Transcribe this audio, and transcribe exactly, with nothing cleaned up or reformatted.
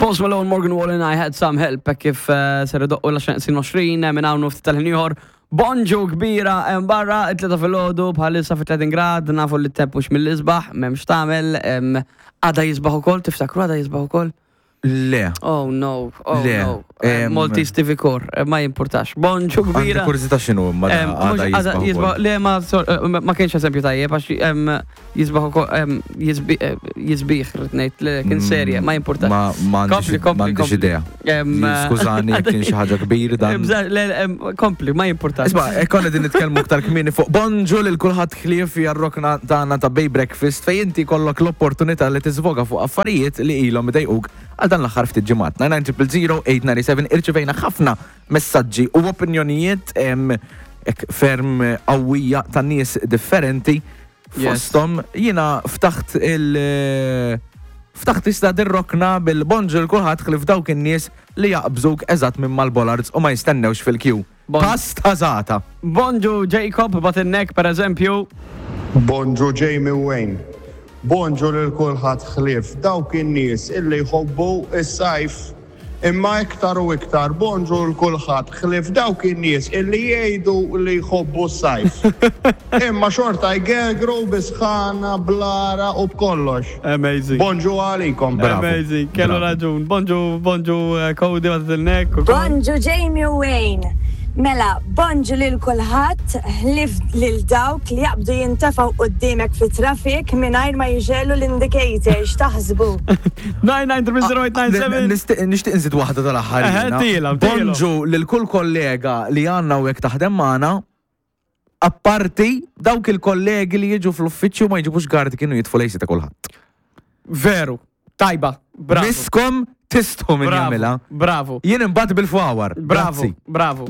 Post Malone, Morgan Wallen, "I Had Some Help", hekk kif eh, ser idoqqu l-għaxra neqsin għoxrin minn hawn ftit tal-ħin ieħor. Bonġu kbira hemm barra, it-tlieta filgħodu bħalissa fi tletin grad, nafu li t-temp mhux mill-isbaħ, m'hemmx tagħmel, em, għada jisbaħ ukoll, tiftakru għada jisbaħ ukoll? Le. Oh no, oh Le, no. Eh, em, Maltese T V Core, eh, ma jimpurtax. Bonġu Għandi kbira. kurżità x'inhu imma Em, għada mhux għada jisbaħ jisbaħ, ukoll. le ma sor- eh, ma kienx eżempju tajjeb, għax em, jisbaħ ukoll, em, jisbi- eh, jisbiħ, rrid ngħid, le kien serja, ma jimpurtax. Ma ma Kompli, għandix kompli, ma għandix kompli. idea. Em, Skużani jekk kien xi ħaġa kbir dan. Bża- le, em, Kompli, ma jimpurtax. Isma', konna din nitkellmu aktar kmieni fuq bonġu lil kulħadd ħlief hija r-rokna tagħna ta' Bay Breakfast fejn inti kollok l-opportunità li tiżvoga fuq affarijiet li ilhom idejquk għal dan l-aħħar ftit ġimgħat. nine nine zero zero eight nine seven irċivejna ħafna messaġġi u opinjonijiet em, ek ferm qawwija ta' nies differenti. Yes. Fosthom jiena ftaħt il- Ftaħt issa dir-rokna bil-bonġu lil kulħadd ħlief dawk in-nies li jaqbżuk eżatt minn mal-bollards u ma jistennewx fil-queue. Bon- Pasta żata. Bonġu Jacob, Botinnek per eżempju. Bonġu Jamie Wayne. Bonġu lil kulħadd ħlief dawk in-nies illi jħobbu is-sajf. Imma iktar u iktar bonġu lil kulħadd ħlief dawk in-nies illi jgħidu li jħobbu s-sajf. Imma xorta jgegru bis-sħana, bl-għaraq u b'kollox. Amazing. Bonġu għalikom. Bravo. Amazing, kellu Bravo. raġun. Bonġu, bonġu eh, Cody, Botinnek. Bonġu Jamie Wayne. Mela, bonġu lil kulħadd ħlief lil dawk li jaqbdu jintefgħu quddiemek fi traffic mingħajr ma jixegħlu l-indicator, x'taħsbu? nine nine zero zero eight nine seven. Nixtieq nixtieq nżid waħda tal-aħħar. Eħe, jiena. tiela, tiela. Bonġu lil kull kollega li għandna u jekk taħdem magħna, apparti dawk il-kollegi li jiġu fl-uffiċċju ma jġibux guard kienu jitfu l-A C ta' kulħadd. Veru, tajba, bravo. Miskom tistħu minn Bravo, jagħmilha. bravo. Jien imbagħad bil-fawar. Bravo, Grazzi. bravo.